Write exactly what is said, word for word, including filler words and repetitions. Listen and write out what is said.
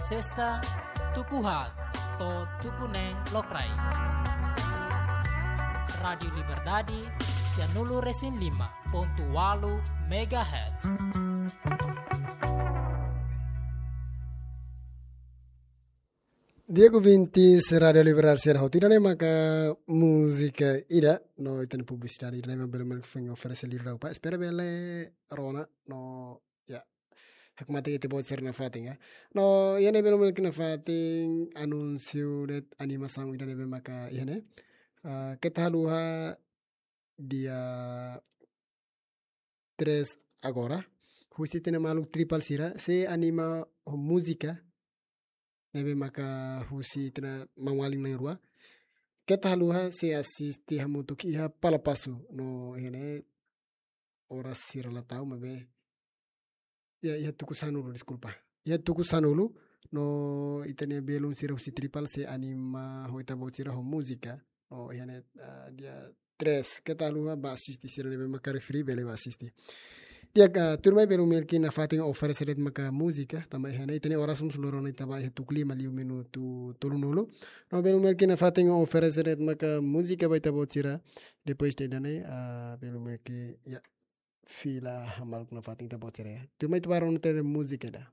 Sesta, tuku haat to'o tuku neen lokraik. Rádiu Liberdade, sianulu resin lima pontu walu megahertz. Di'ak ouvintes Rádiu Liberdade sira hotu, ida-ne'e maka múzika ida, no ita-nia publisidade ida-ne'e mak bele mak foin oferese liuliu ba. Espera bele rona, no, ya, hakmatek ita-boot sira nafatin, ya. No, iha ne'e bele mak nafatin anúnsiu de'it animasaun ida ne'ebé maka iha ne'e. Ah, keta haluha dia três agora, husi ita-nia maluk Tripal sira, sei anima ho múzika ne'ebé maka husi ita-nia maun-alin na'in-rua. Keta haluha sei asiste hamutuk iha Palapasu, no iha ne'e oras sira la tau, maibé, ya, iha tuku sanulu, deskulpa. Iha tuku sanulu, no ita-nia belun sira husi Tripal sei anima ho ita-boot sira ho múzika. No iha ne'e, ah, dia três, keta haluha bá asiste, sira ne'ebé maka refere bele bá asiste. Di'ak, ah, tuirmai bele mak nafatin oferese de'it maka múzika, tanba iha ne'e ita-nia oras mós loron ne'e tama iha tuku lima liu minutu tolunulu. No bele mak nafatin oferese de'it maka múzika ba ita-boot sira. Depois de ida-ne'e, ah, bele mak, ya, fila hamaluk nafatin ita-boot sira, ya. Tuirmai ita bá rona ita-nia múzika ida.